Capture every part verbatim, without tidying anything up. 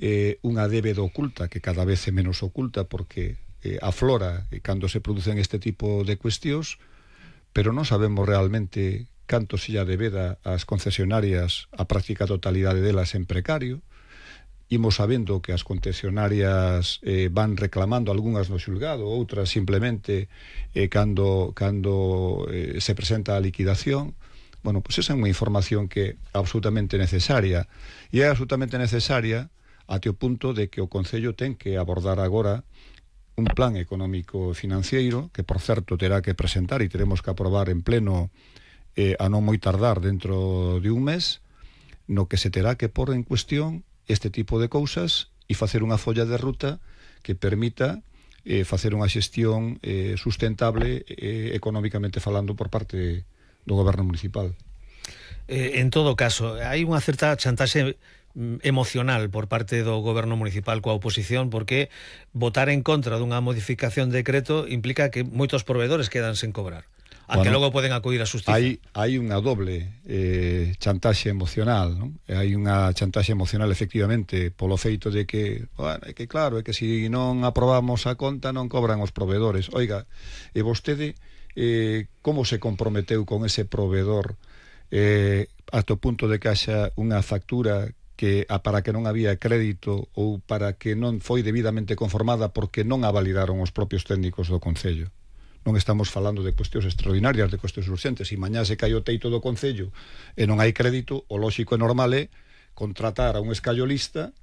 eh, unha débeda oculta, que cada vez é menos oculta porque eh, aflora eh, cando se producen este tipo de cuestións, pero non sabemos realmente canto se lla debeda ás concesionarias a práctica totalidade delas en precario. Imos sabendo que as concesionarias eh, van reclamando algunhas no xulgado, outras simplemente eh, cando, cando eh, se presenta a liquidación. Bueno, pois esa é unha información que é absolutamente necesaria, e é absolutamente necesaria até o punto de que o Concello ten que abordar agora un plan económico financiero que, por certo, terá que presentar e teremos que aprobar en pleno eh, a non moi tardar dentro de un mes, no que se terá que pôr en cuestión este tipo de cousas e facer unha folla de ruta que permita eh, facer unha xestión eh, sustentable eh, económicamente falando por parte do goberno municipal. Eh, en todo caso, hai unha certa chantaxe emocional por parte do goberno municipal coa oposición, porque votar en contra dunha modificación de decreto implica que moitos proveedores quedan sen cobrar, a que bueno, logo poden acudir á xustiza. Hai, hai unha doble eh, chantaxe emocional, non? Hai unha chantaxe emocional efectivamente polo feito de que, bueno, é que claro, é que se non aprobamos a conta non cobran os proveedores. Oiga, e vostede eh, como se comprometeu con ese proveedor eh, ata o punto de que haxa unha factura que a para que non había crédito ou para que non foi debidamente conformada porque non a validaron os propios técnicos do Concello? Non estamos falando de cuestións extraordinarias, de cuestións urgentes. Se mañá se cai o teito do Concello e non hai crédito, o lóxico e normal é contratar a un escallolista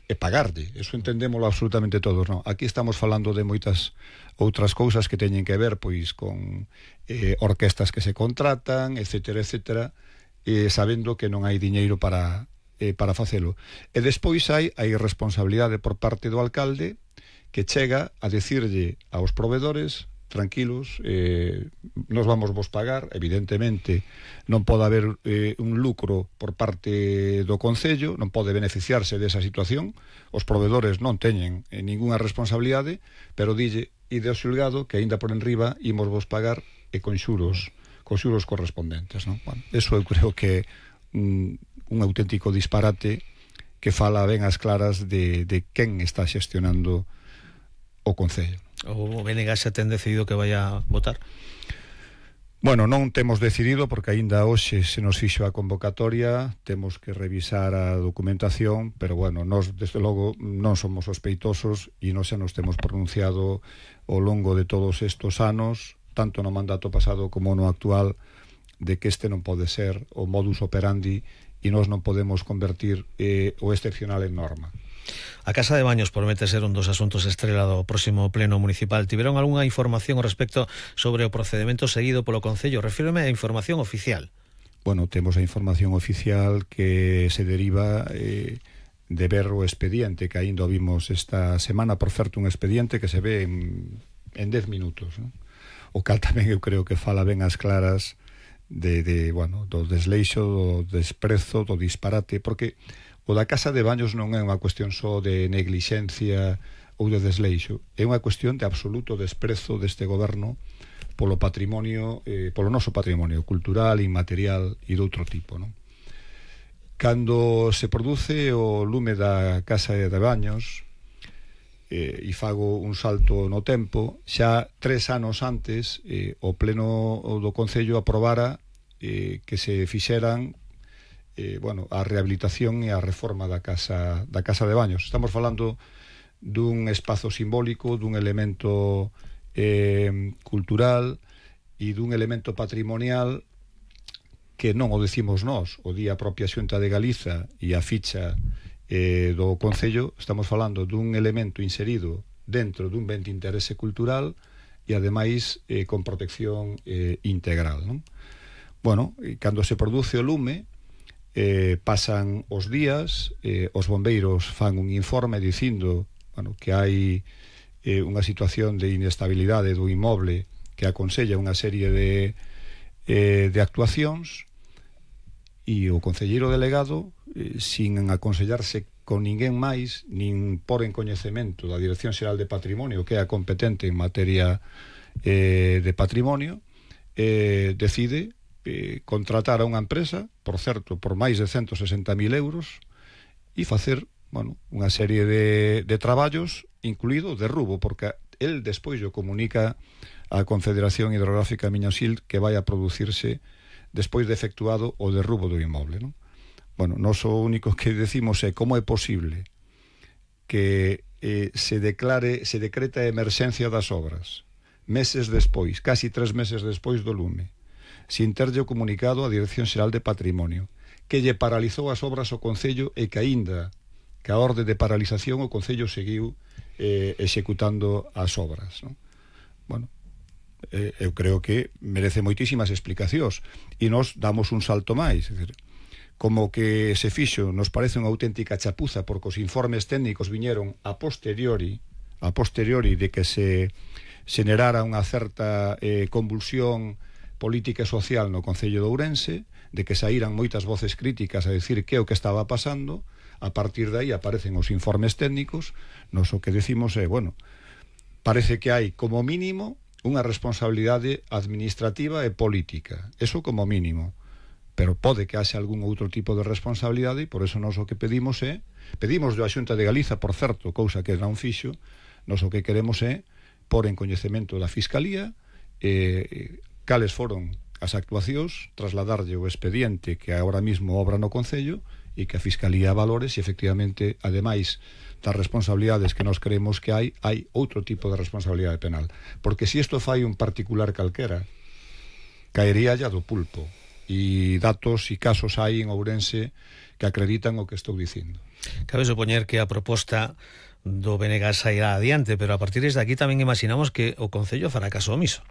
e pagarlle. Eso entendémolo absolutamente todos, non? Aquí estamos falando de moitas outras cousas que teñen que ver pois con eh, orquestas que se contratan, etcétera, etcétera, eh, sabendo que non hai diñeiro para Eh, para facelo. E despois hai a irresponsabilidade por parte do alcalde que chega a decirlle aos proveedores: tranquilos, eh, nos vamos vos pagar. Evidentemente non pode haber eh, un lucro por parte do Concello, non pode beneficiarse desa situación, os proveedores non teñen eh, ningunha responsabilidade, pero dille: ide ao xulgado que aínda por enriba imos vos pagar e con xuros, con xuros correspondentes, non? Bueno, eso eu creo que un, un auténtico disparate que fala ben as claras de, de quen está xestionando o Concello. O B N G xa ten decidido que vai a votar? Bueno, non temos decidido porque aínda hoxe se nos fixo a convocatoria, temos que revisar a documentación, pero bueno, nós desde logo non somos sospeitosos e non xa nos temos pronunciado ao longo de todos estes anos, tanto no mandato pasado como no actual, de que este non pode ser o modus operandi e nós non podemos convertir eh, o excepcional en norma. A Casa de Baños promete ser un dos asuntos estrela do próximo pleno municipal. Tiveron algunha información ao respecto sobre o procedimento seguido polo Concello? Refírome a información oficial. Bueno, temos a información oficial que se deriva eh, de ver o expediente que aínda vimos esta semana, por certo un expediente que se ve en, en dez minutos, ¿no? O cal tamén eu creo que fala ben as claras de, de bueno, do desleixo, do desprezo, do disparate, porque o da Casa de Baños non é unha cuestión só de neglixencia ou de desleixo, é unha cuestión de absoluto desprezo deste goberno polo patrimonio, eh, polo noso patrimonio cultural, inmaterial e de outro tipo, non? Cando se produce o lume da Casa de Baños, eh, e fago un salto no tempo, xa tres anos antes eh, o pleno do Concello aprobara eh, que se fixeran eh, bueno, a rehabilitación e a reforma da casa, da casa de Baños. Estamos falando dun espazo simbólico, dun elemento eh, cultural e dun elemento patrimonial que non o decimos nós, o día a propia Xunta de Galiza e a ficha Eh, do Concello. Estamos falando dun elemento inserido dentro dun ben de interese cultural e ademais eh, con protección eh, integral, non? Bueno, e cando se produce o lume eh, pasan os días, eh, os bombeiros fan un informe dicindo, bueno, que hai eh, unha situación de inestabilidade do inmoble que aconsella unha serie de, eh, de actuacións, e o concelleiro delegado, eh, sin aconsellarse con ninguén máis, nin por en coñecemento da Dirección Xeral de Patrimonio, que é a competente en materia eh, de patrimonio, eh, decide eh, contratar a unha empresa, por certo, por máis de ciento sesenta mil euros, e facer bueno, unha serie de, de traballos, incluído de derrubo, porque el despois o comunica a Confederación Hidrográfica Miñosil que vai a producirse despois de efectuado o derrubo do inmoble, non? Bueno, nós o único que decimos é como é posible que eh, se declare, se decreta a emerxencia das obras meses despois, casi tres meses despois do lume, sin terlle comunicado a Dirección Xeral de Patrimonio, que lle paralizou as obras ao Concello e que aínda que a orde de paralización o Concello seguiu eh, executando as obras, non? Bueno, eh, eu creo que merece moitísimas explicacións e nós damos un salto máis, é dicir, como que se fixo nos parece unha auténtica chapuza porque os informes técnicos viñeron a posteriori a posteriori de que se xenerara unha certa eh, convulsión política e social no Concello de Ourense, de que saíran moitas voces críticas a decir que o que estaba pasando. A partir de aí aparecen os informes técnicos. Nos o que decimos é, bueno, parece que hai como mínimo unha responsabilidade administrativa e política, eso como mínimo, pero pode que haxe algún outro tipo de responsabilidade e por eso nos o que pedimos é, pedimos da Xunta de Galiza, por certo, cousa que non fixo, nos o que queremos é por en coñecemento da Fiscalía eh, cales foron as actuacións, trasladarlle o expediente que agora mismo obra no Concello e que a Fiscalía valore se efectivamente, ademais das responsabilidades que nos creemos que hai, hai outro tipo de responsabilidade penal. Porque se isto fai un particular calquera, caería ya do pulpo. E datos e casos hai en Ourense que acreditan o que estou dicindo. Cabe supoñer que a proposta do B N G sairá adiante, pero a partir de aquí tamén imaginamos que o Concello fará caso omiso.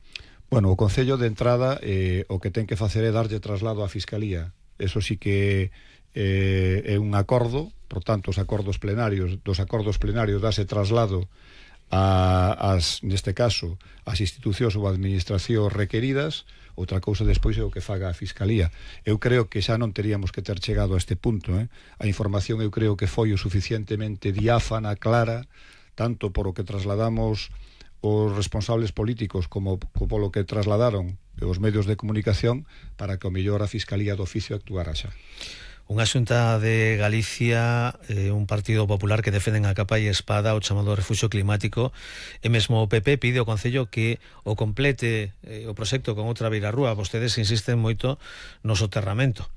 Bueno, o Concello de entrada eh, o que ten que facer é darlle traslado á Fiscalía. Eso sí que eh, é un acordo, por tanto, os acordos plenarios, dos acordos plenarios dase traslado a, as, neste caso, as institucións ou administracións requeridas. Outra cousa despois é o que faga a Fiscalía. Eu creo que xa non teríamos que ter chegado a este punto, eh? A información eu creo que foi o suficientemente diáfana, clara, tanto por o que trasladamos os responsables políticos como polo que trasladaron os medios de comunicación para que o mellor a Fiscalía do oficio actuara xa. Unha Xunta de Galicia, eh, un Partido Popular que defenden a capa e espada o chamado refuxio climático, e mesmo o P P pide ao Concello que o complete eh, o proxecto con outra beirarrúa. Vostedes insisten moito no soterramento.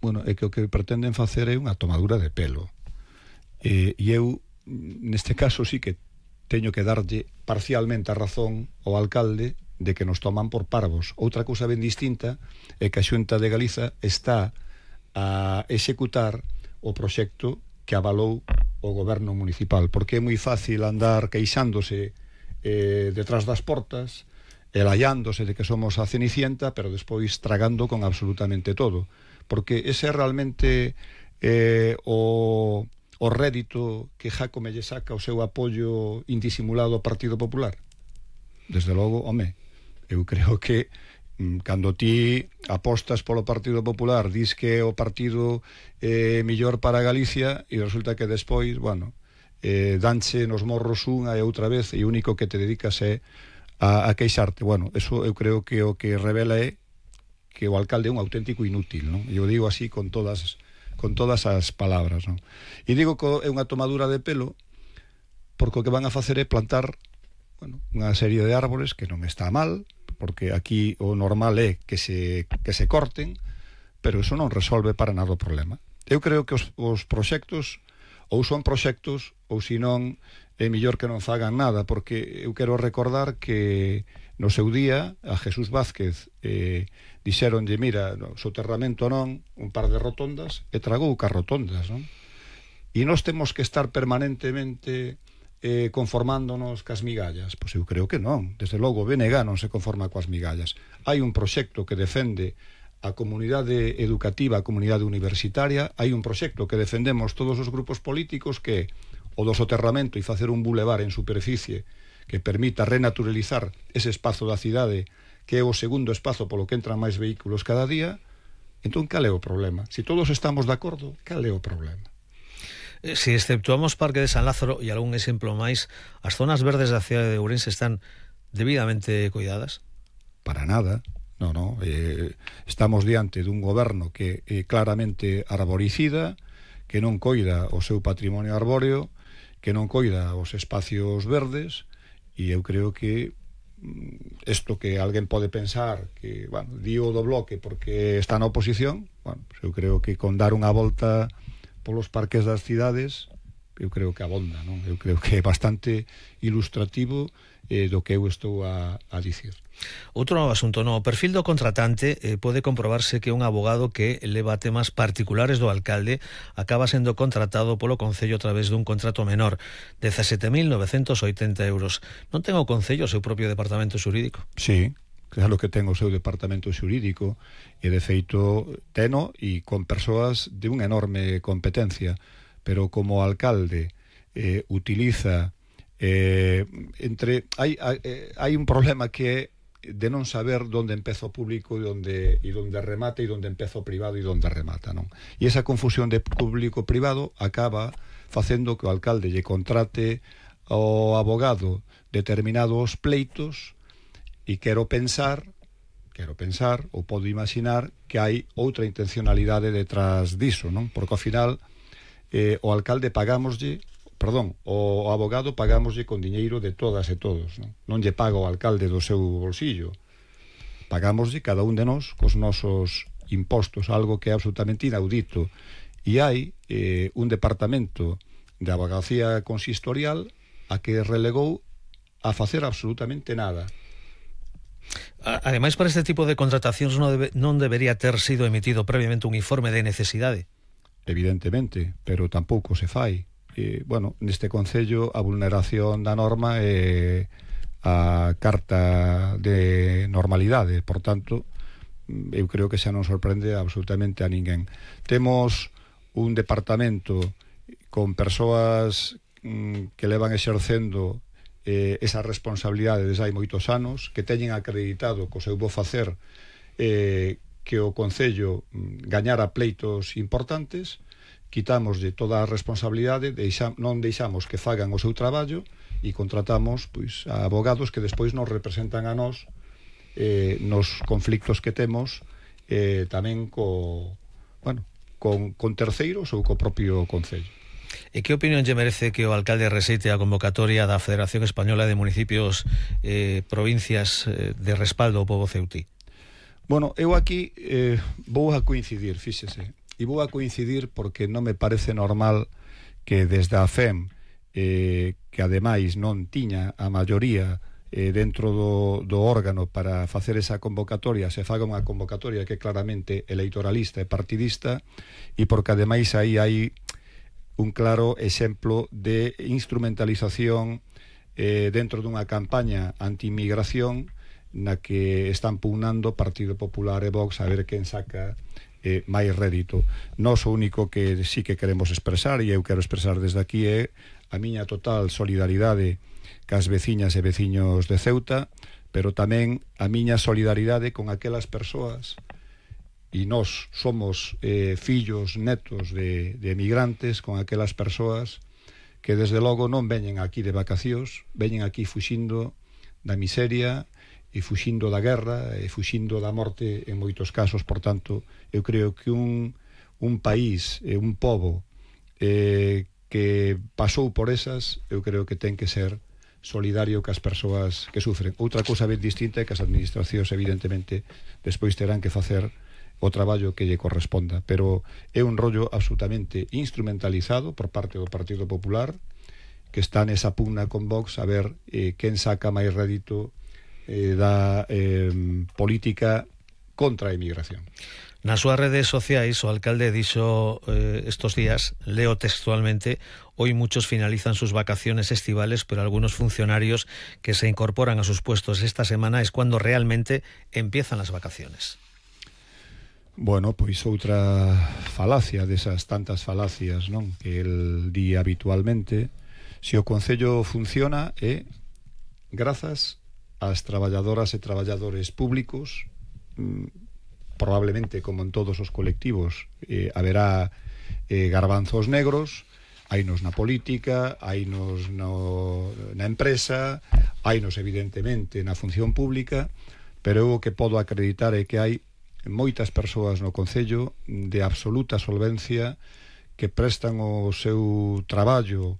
Bueno, é que o que pretenden facer é unha tomadura de pelo. E, e eu, neste caso, sí que teño que darlle parcialmente a razón ao alcalde de que nos toman por parvos. Outra cousa ben distinta é que a Xunta de Galiza está a executar o proxecto que avalou o goberno municipal, porque é moi fácil andar queixándose eh, detrás das portas, elayándose de que somos a Cenicienta, pero despois tragando con absolutamente todo, porque ese é realmente eh, o, o rédito que Jácome lle saca o seu apoio indisimulado ao Partido Popular. Desde logo, home, eu creo que cando ti apostas polo Partido Popular, dis que o partido é eh, mellor para Galicia e resulta que despois, bueno, eh, danche nos morros unha e outra vez e o único que te dedicas é a, a queixarte. Bueno, eso eu creo que o que revela é que o alcalde é un auténtico inútil, non? E eu digo así con todas con todas as palabras, non? E digo que é unha tomadura de pelo porque o que van a facer é plantar, bueno, unha serie de árbores que non está mal, porque aquí o normal é que se, que se corten, pero eso non resolve para nada o problema. Eu creo que os, os proxectos ou son proxectos ou senón é mellor que non fagan nada, porque eu quero recordar que no seu día a Jesús Vázquez eh, dixeronlle, mira, no, soterramento non, un par de rotondas, e tragou cas rotondas, non? E nós temos que estar permanentemente Eh, conformándonos cas migallas. Pois eu creo que non. Desde logo o B N G non se conforma coas migallas. Hai un proxecto que defende a comunidade educativa, a comunidade universitaria, hai un proxecto que defendemos todos os grupos políticos que o do soterramento e facer un bulevar en superficie que permita renaturalizar ese espazo da cidade que é o segundo espazo polo que entran máis vehículos cada día. Entón, cal é o problema? Se todos estamos de acordo, cal é o problema? Se exceptuamos Parque de San Lázaro e algún exemplo máis, as zonas verdes da cidade de Ourense están debidamente cuidadas? Para nada, no, no. Eh, estamos diante dun goberno que é claramente arboricida, que non coida o seu patrimonio arbóreo, que non coida os espacios verdes, e eu creo que isto que alguén pode pensar que, bueno, dio do Bloque porque está na oposición, bueno, pues eu creo que con dar unha volta polos parques das cidades, eu creo que abonda, non? Eu creo que é bastante ilustrativo eh, do que eu estou a, a dicir. Outro asunto, no perfil do contratante eh, pode comprobarse que un abogado que leva temas particulares do alcalde acaba sendo contratado polo Concello a través dun contrato menor, dezasete mil novecentos oitenta euros. Non ten o Concello o seu propio departamento xurídico? Sí, claro que ten o seu departamento xurídico, e de feito teno e con persoas de unha enorme competencia, pero como alcalde eh, utiliza eh, entre hai, hai, hai un problema que é de non saber onde empeza o público e onde, e onde remata, e onde empeza o privado e onde remata, non? E esa confusión de público-privado acaba facendo que o alcalde lle contrate ao abogado determinados pleitos, e quero pensar quero pensar, ou podo imaginar que hai outra intencionalidade detrás diso, non? Porque ao final eh, o alcalde pagámoslle perdón, o abogado pagámoslle con diñeiro de todas e todos, non? Non lle paga o alcalde do seu bolsillo, pagámoslle cada un de nós cos nosos impostos, algo que é absolutamente inaudito, e hai eh, un departamento de abogacía consistorial a que relegou a facer absolutamente nada. Ademais, para este tipo de contratacións non, debe, non debería ter sido emitido previamente un informe de necesidade? Evidentemente, pero tampouco se fai. Eh, bueno, neste Concello a vulneración da norma é a carta de normalidade, por tanto eu creo que xa non sorprende absolutamente a ninguén. Temos un departamento con persoas mm, que levan exercendo eh, esa responsabilidade desde hai moitos anos, que teñen acreditado co seu bo facer eh, que o Concello mm, gañara pleitos importantes. Quitámoslle toda a responsabilidade, deixa, non deixamos que fagan o seu traballo e contratamos pois, a abogados que despois nos representan a nós eh, nos conflictos que temos eh, tamén co, bueno, con, con terceiros ou co propio Concello. E que opinión lle merece que o alcalde rexeite a convocatoria da Federación Española de Municipios eh, provincias eh, de respaldo ao pobo ceutí? Bueno, eu aquí eh, vou a coincidir, fíxese. E vou a coincidir porque non me parece normal que desde a F E M, eh, que ademais non tiña a maioría eh, dentro do, do órgano para facer esa convocatoria, se faga unha convocatoria que é claramente eleitoralista e partidista, e porque ademais aí hai un claro exemplo de instrumentalización eh, dentro dunha campaña anti-inmigración na que están pugnando Partido Popular e Vox a ver quen saca Eh, máis rédito. Nós o único que sí que queremos expresar, e eu quero expresar desde aquí, é a miña total solidaridade cas veciñas e veciños de Ceuta, pero tamén a miña solidaridade con aquelas persoas, e nós somos eh, fillos netos de, de emigrantes, con aquelas persoas que desde logo non veñen aquí de vacacións, veñen aquí fuxindo da miseria e fuxindo da guerra e fuxindo da morte en moitos casos. Por tanto, eu creo que un, un país e un pobo eh, que pasou por esas, eu creo que ten que ser solidario cas persoas que sufren. Outra cousa ben distinta é que as administracións evidentemente despois terán que facer o traballo que lle corresponda, pero é un rollo absolutamente instrumentalizado por parte do Partido Popular, que está nesa pugna con Vox a ver eh, quen saca máis rédito Eh, da eh, política contra a emigración. Nas súas redes sociais o alcalde dixo eh, estos días, leo textualmente: hoy muchos finalizan sus vacaciones estivales, pero algunos funcionarios que se incorporan a sus puestos esta semana es cuando realmente empiezan las vacaciones. Bueno, pois outra falacia desas tantas falacias, non, que el di habitualmente. Se o Concello funciona é grazas as traballadoras e traballadores públicos, mm, probablemente como en todos os colectivos eh, haberá eh, garbanzos negros, hainos na política, hainos no, na empresa, hainos evidentemente na función pública, pero eu o que podo acreditar é que hai moitas persoas no Concello de absoluta solvencia que prestan o seu traballo